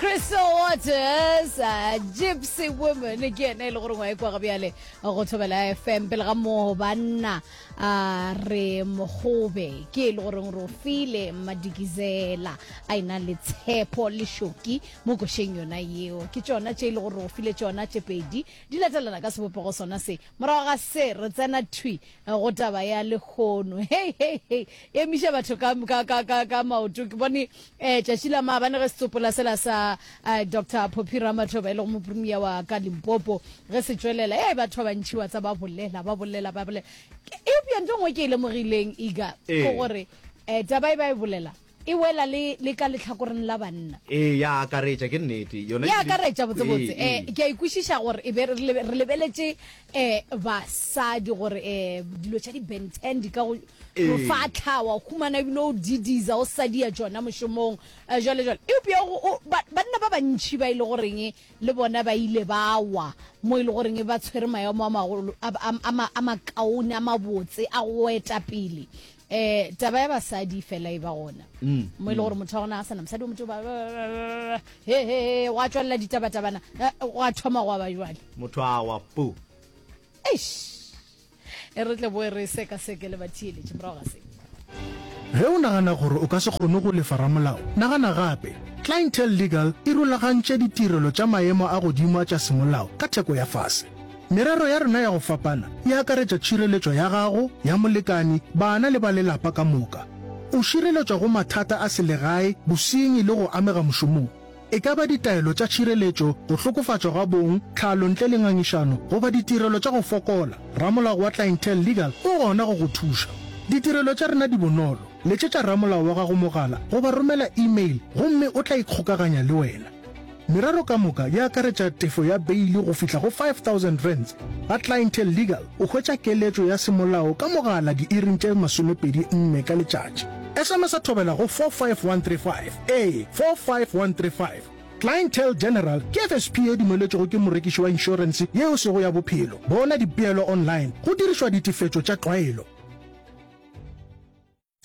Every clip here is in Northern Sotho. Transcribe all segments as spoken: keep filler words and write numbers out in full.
Crystal Waters, uh, Gypsy Woman ke yena e le gore ngwa e kwa ga bjale go Thobela F M. Pele ga moo, banna, uh, re mogobe ke e le goreng re o file Madikizela a ena le Tshepo le Shoki mo košeng yona yeo. Ke tšona tše e le gore re o file tšona tše pedi di latelana ka sebopego sona se. Morago ga se re tsena thwi go taba ya lehono. Hei hei hei, emiša batho ka, ka, ka, ka, ka maoto. Ke bone um tšatši la maabane ge setsopola sela sa uh, Doctor Phophi Ramathuba, e lego mopremia wa ka Limpopo, ge se tšwelela, e batho ba bantši wa tsa ba bolela, ba bolela, ba bolela. Eupša nto nngwe ke e lemogileng ega ke Ee. gore um taba e ba e bolela e wela le, le ka letlhakoreng la banna. Ee, ya akaretša, ke nnete yona. Ya ebile- akaretša botsebotse. Ee, um ke a ikwešiša gore e be re lebe- re lebeletše um basadi gore um dilo tša di-Ben ten di ka go Ee. go fatlha wa humana ebile o didiza o sadia tšona mošomong, um jwale jwale. Eupša go- o- ba- banna ba bantšhi ba e le goreng le bona ba ile ba wa mo e le goreng ba tshwere maemo a magolo a a- a ma- a makaone, a mabotse a go eta pele, um taba ya basadi fela e ba gona Mm, mo e le gore motho wa gona a sana mosadi o motho ba he he he, gwa tswelela ditabatabana, eh, gwa thoma go ba jwale. Motho a wa pu. Eish, e re tle boe re sekaseke le batheeletše morago ga se. Ge o nagana gore o ka se kgone go lefa ramolao, nagana gape. Clientele Legal e rulagantše ditirelo tša maemo a godimo a tša semolao ka theko ya fase. Merero ya rena ya go fapana e akaretša tšhireletšo ya gago, ya molekani, bana le ba lelapa ka moka. O šireletšwa go mathata a selegae, bosenyi le go amega mošomong. E ka ba ditaelo tša tšhireletšo, go hlokofatšwa ga bong, tlhalo ntle le ngangišano goba ditirelo tša go fokola, ramolao wa Clientele Legal o gona go go thuša. Ditirelo tša rena di bonolo. Letšetša ramolao wa gago mogala goba romela email gomme o tla ikgokaganya le wena. Merero ka moka e akaretša tefo ya beile go fihla go five thousand rands. Ga Clientele Legal o hwetša keletšo ya semolao ka mogala diiring tše masomepedi nne ka letšatši. S M S a Thobela go four five one three five, ee, four five one three five. Clientele General ke F S P e dumeletšwego ke morekiši wa inšorense yeo sego ya bophelo. Bona dipeelo online go dirišwa ditefetšo tša tlwaelo.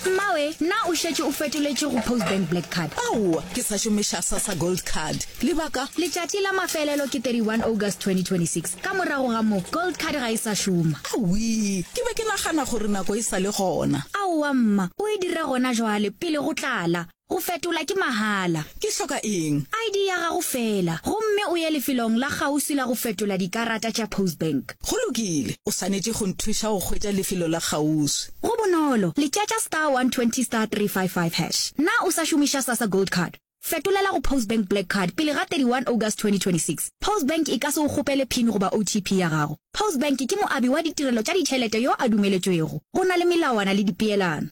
Mmawe, na o šetše o fetoletše go Postbank Black Card? Aowa, ke sa šomiša SASSA Gold Card. Lebaka? Letšatši la mafelelo ke thirty-one August twenty twenty-six. Ka morago ga moo Gold Card ga e sa šoma. Awi, ke be ke nagana gore nako e sa le gona. Aowa mma, o e dire gona jwale pele go tlala. Go fetola ke mahala. Ke hloka eng? I D ya gago fela, gomme o ye lefelong la kgauswi la go fetola dikarata tša Postbank. Go lokile, o swanetše go nthuša go hwetša lefelo la kgauswi. Go bonolo, letšetša star one twenty star three five five hash. Na o sa šomiša SASSA Gold Card? Fetolela go Postbank Black Card pele ga thirty-one August twenty twenty-six. Postbank e ka se o kgopele PIN goba O T P ya gago. Postbank ke moabi wa ditirelo tša ditšhelete yo a dumeletšwego. Go na le melawana le dipeelano.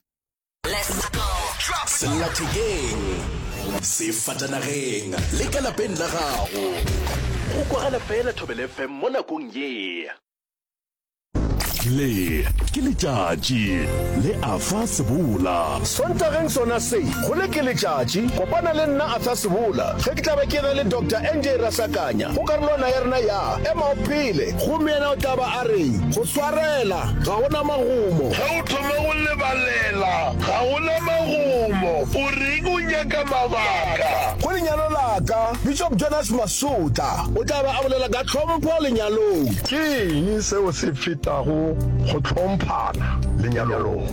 Sellathekeng, sefatanageng le ka lapeng la gago, go kwagala fela Thobela F M mo nakong ye. Le ke letšatši le Afa Sebola. Sontageng sona se, go le ke letšatši, kopana le nna Arthur Sebola ge ke tla be ke na le Doctor N J Rasakanya go karolwana ya rena ya Ema O Phele, gomme yena o tla ba a re go swarela ga gona magomo. Ge o thoma go lebalela ga gona magomo, o reng o nyaka mabaka? Go lenyalo laka, Bishop Jonas Masotla o tla ba a bolela ka tlhompho lenyalong. Ke eng seo se fetago go hlomphana lenyalong?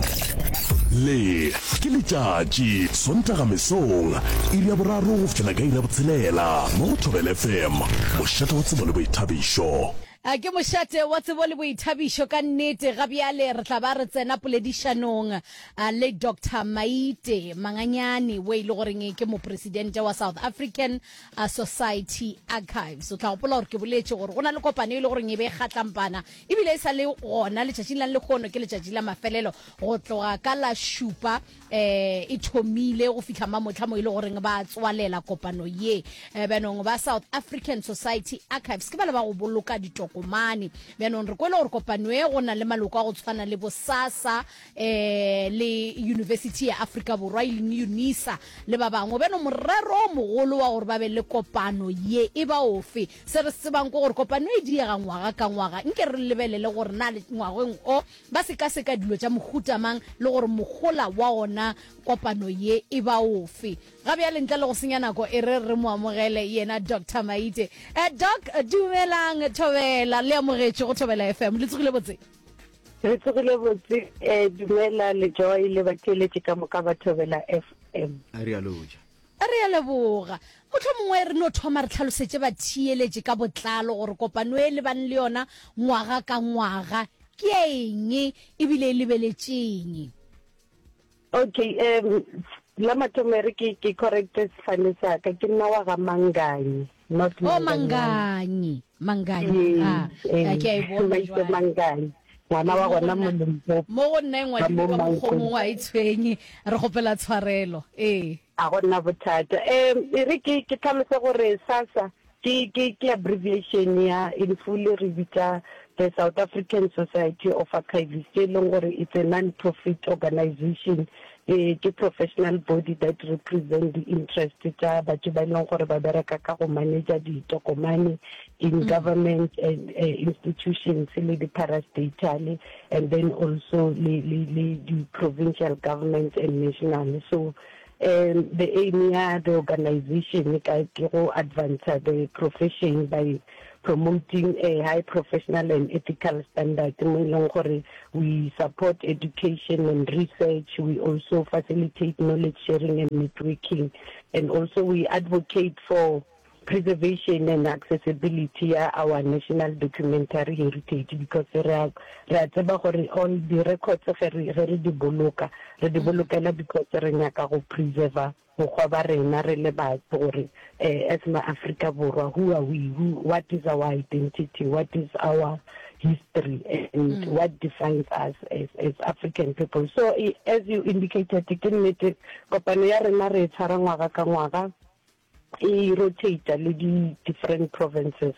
Le ke letšatši, Sontaga mesong, iri ya boraro go fihlela ka iri ya botshelela, mo go Thobela F M, mošate wa tsebo le boithabišo. A ke mošate wa tsebo le boithabišo ka nnete. Ga bjale re tla ba re tsena poledišanong a, le Doctor Maite Manganyane, o e le goreng ke mopresidente wa South African a, Society Archives. O tla gopola gore ke boletše gore go na le kopano e le goreng e be e kgatlampana, ebile e sa le gona letšatšing la lehono, ke letšatši la mafelelo go tloga ka la šupa eh e thomile go fihla mamotlha mo e le goreng ba tswalela kopano ye. eh, banong ba South African Society Archives ke ba le ba go boloka ditokomane. ditokomane. Bjanong re kwele gore kopano e go na le maloko a go tshwana le bo SASSA um le University ya Afrika Borwa e leng UNISA le ba bangwe. Bjanong morero o mogolo wa gore ba be le kopano ye e ba ofe? Se re se tsebang ke gore kopano e diega ngwaga ka ngwaga. Nke re lebelele gore na ngwageng o ba sekaseka dilo tša mohuta mang le gore mohola wa ona kopano ye e ba ofe. Ga bjale ntle le go senya nako e re re mo amogele yena Doctor Maite. Eh, Doc, dumelang Thobela, le amogetše go Thobela F M. Le tsogile botse? Re tsogile botse, eh, dumela le Joy le batheeletši ka moka ba Thobela F M. Re a loja. Re a leboga. Mohlomongwe re no thoma re hlalosetše batheeletši ka botlalo gore kopano e lebane le yona ngwaga ka ngwaga ke ya eng ebile e lebeletšeng. Okay, um la mathomo e re ke ke correcte sefane sa ka, ke nna wa ga Manganyi, not Oh, Manganyi. Manganyi, Manganyi. Ah, Yes, eh, ke a e bona Maite jwale. Manganyi, ngwana wa Mo go gona mo nna, Limpopo, mo go nna e ka mo ngwadilwe ka mokgwa o Mankweng. mongwe a e tshwenye, re kgopela tshwarelo. Ee. A go na bothata. Um e re ke ke tlhalose gore SASSA ke ke ke abbreviation ya, in full re bitša the South African Society of Archivists, e leng gore it's a non-profit organization, eh, ke professional body that represent the interest tša batho ba e leng gore ba bereka ka go manager ditokomane in government and uh, institutions le di-parastatal and then also le le le di-provincial governments and national. So um the aim ya the organization ka ke go advance the profession by promoting a high professional and ethical standard, mo e leng gore we support education and research, we also facilitate knowledge sharing and networking, and also we advocate for preservation and accessibility ya our national documentary heritage, because re a re a tseba gore all the records ge re ge re di boloka, re di bolokela because re nyaka go preserva bokgwa ba rena re le batho, gore eh, as ma Afrika Borwa, who are we, who, what is our identity, what is our history and mm. what defines us as, as African people. So as you indicated, ke nnete, kopano ya rena re e tshwara ngwaga ka ngwaga, e rotate le di different provinces.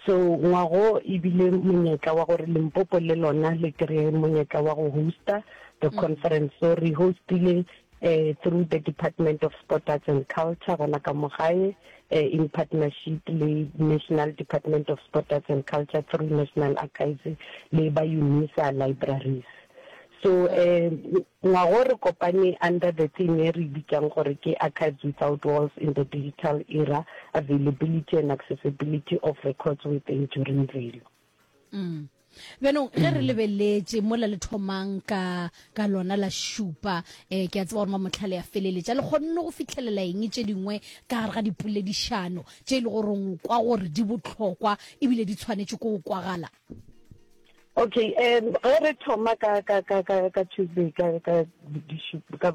So ngwago ebile monyetla wa gore Limpopo le lona le kry monyetla wa go hosta the mm. conference. So re hostile uh, through the Department of Sport, Arts and Culture gona ka mo gae, uh, in partnership le National Department of Sport, Arts and Culture through National Archives le ba UNISA libraries. So um ngwago re kopane under the theme e re bitsang gore ke "Archives Without Walls in the Digital Era: Availability and Accessibility of Records with Enduring Value." mm. Bjanong ge re lebeletše mola le thomang ka ka lona la šupa, um ke a tseba gore mamotlhale ya feleletša le kgonne go fitlhelela eng tše dingwe ka gare ga dipoledišano tše e le goreng o kwa gore di botlhokwa ebile di tshwanetše ko go kwagala? Okay, um ge re thoma ka ka ka ka ka Tuesday ka ka ka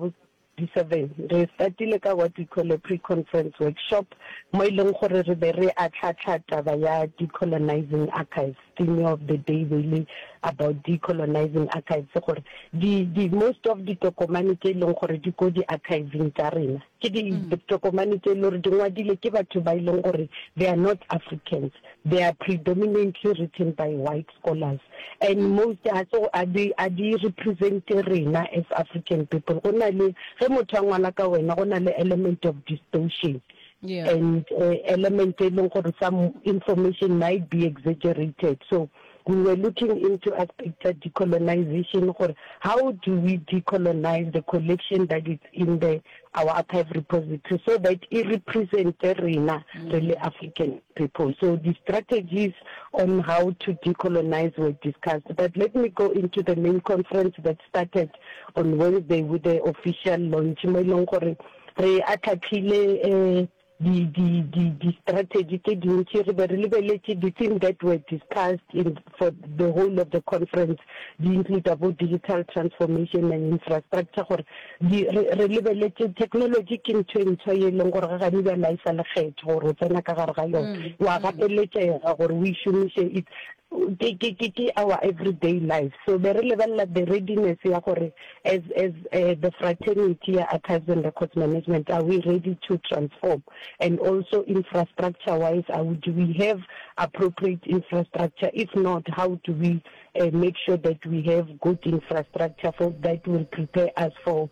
di seven, re startile ka what we call a pre-conference workshop, mo e leng gore re be re atlhatlha taba ya decolonizing archives. Theme of the day be le about decolonizing archives, gore di di most of ditokomane tse e leng gore di ko di-archiving tsa rena ke ditokomane tse e leng gore di ngwadile ke batho ba e leng gore they are not Africans. They are predominantly written by white scholars and most a so a di a di represent rena as African people. Go na le ge motho a ngwala ka wena, go na le element of distortion yeah. and uh, element e leng gore some information might be exaggerated. So we were looking into aspects of decolonization, gore how do we decolonize the collection that is in the our archive repository so that it represent rena re le African people. So the strategies on how to decolonize were discussed. But let me go into the main conference that started on Wednesday with the official launch, mo e leng gore re atlhatlhile eh di di di di strategy tse dintši. Re be re lebeletše the theme that were discussed in for the whole of the conference di include about digital transformation and infrastructure, gore di re re lebeletše technology ke ntho e ntšhwa ye e leng gore ga gane bjale a e sa le kgetho gore o tsena ka gare ga yona, wa gapeletšega gore o e šomiše. It's Ke, ke, ke, ke our everyday life. So be re lebelela the readiness ya gore as, as uh, the fraternity ya Archives and Records Management, are we ready to transform? And also infrastructure wise, are we, do we have appropriate infrastructure? If not, how do we uh, make sure that we have good infrastructure for that will prepare us for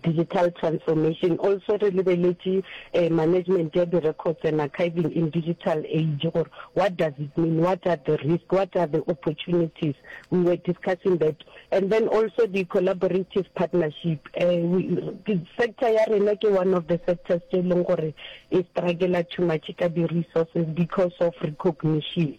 digital transformation? Also re lebeletše eh, management ya di-records and archiving in digital age, gore what does it mean, what are the risks, what are the opportunities? We were discussing that. And then also the collaborative partnership. Eh, we, sector ya rena ke one of the sectors tse e leng gore e struggle too much ka di-resources because of recognition.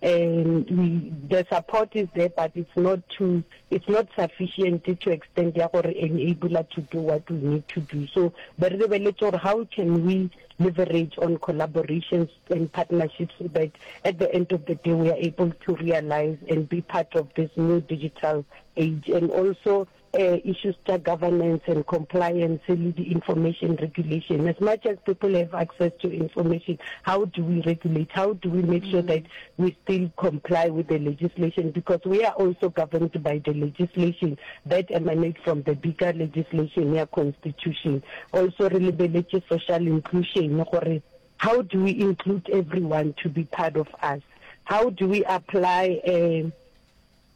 Um, we, the support is there, but it's not too, it's not sufficient to extend ya gore enable to do what we need to do. So be re lebeletse gore how can we leverage on collaborations and partnerships so that at the end of the day we are able to realize and be part of this new digital age. And also uh, issues tša governance and compliance le di information regulation. As much as people have access to information, how do we regulate? How do we make sure that we still comply with the legislation? Because we are also governed by the legislation that emanates from the bigger legislation ya constitution. Also re lebeletše social inclusion, gore how do we include everyone to be part of us? How do we apply uh,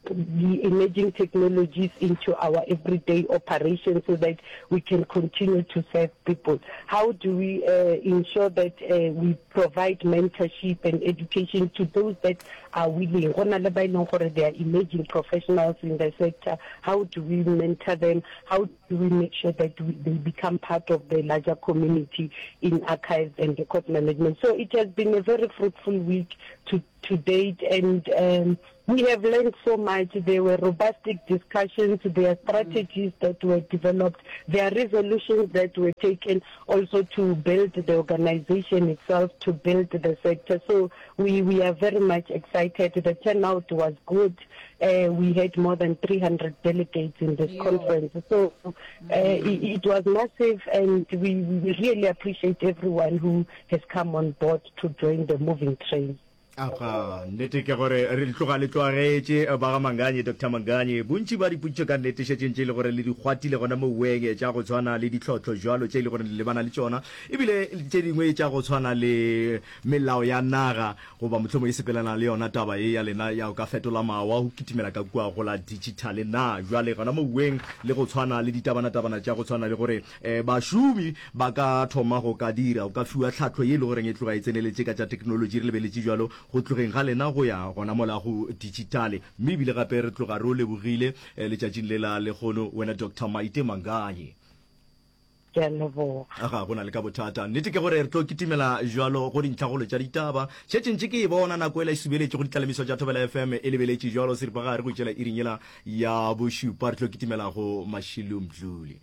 the emerging technologies into our everyday operations so that we can continue to serve people? How do we uh, ensure that uh, we provide mentorship and education to those that are willing? Go na le ba e leng gore they are emerging professionals in the sector. How do we mentor them? How do we make sure that we, they become part of the larger community in archives and record management? So it has been a very fruitful week to, to date, and um, we have learned so much. There were robust discussions, there are strategies that were developed, there are resolutions that were taken also to build the organization itself, to build the sector. So we, we are very much excited. The turnout was good. Uh, we had more than three hundred delegates in this yeah. conference. So uh, mm. it, it was massive, and we, we really appreciate everyone who has come on board to join the moving train. Aga, nnete ke gore re tloga le tloagetše ba ga Manganye, Doctor Manganye. Bontši ba dipotšišo ka nnete šetše ntše e le gore le di kgwathile gona moweng, tša go tshwana le ditlhohlo jwalo tše e le gore le lebana le tšona, ebile tše dingwe tša go tshwana le melao ya naga goba mohlomong e sepelana le yona taba ye ya lena ya go ka fetola mawa go kitimela ka kua go la digital na. Jwale gona moweng le go tshwana le ditabanatabana tša go tshwana le gore um bašomi ba ka thoma go ka dira, go ka fiwa tlhahlo ye e le goreng e tloga e tseneletše ka tša technology, re lebeletše jwalo go tlogeng ga lena go ya gona mola go digitale. Mme ebile gape re tloga re o lebogile letšatšing le la lekgono wena Doctor Maite Manganye. Ke a leboga. Ga go na le ka bothata. Nnete ke gore re tlo kitimela jwalo go dintlhagolo tša ditaba. Šetše ntše ke e bona nako ela e subeletše go ditlalemiso tša Thobela F M e lebeletše jwalo seripagare go itšela iring yela ya bošupa. Re tlo kitimela go Mashilo Mdluli.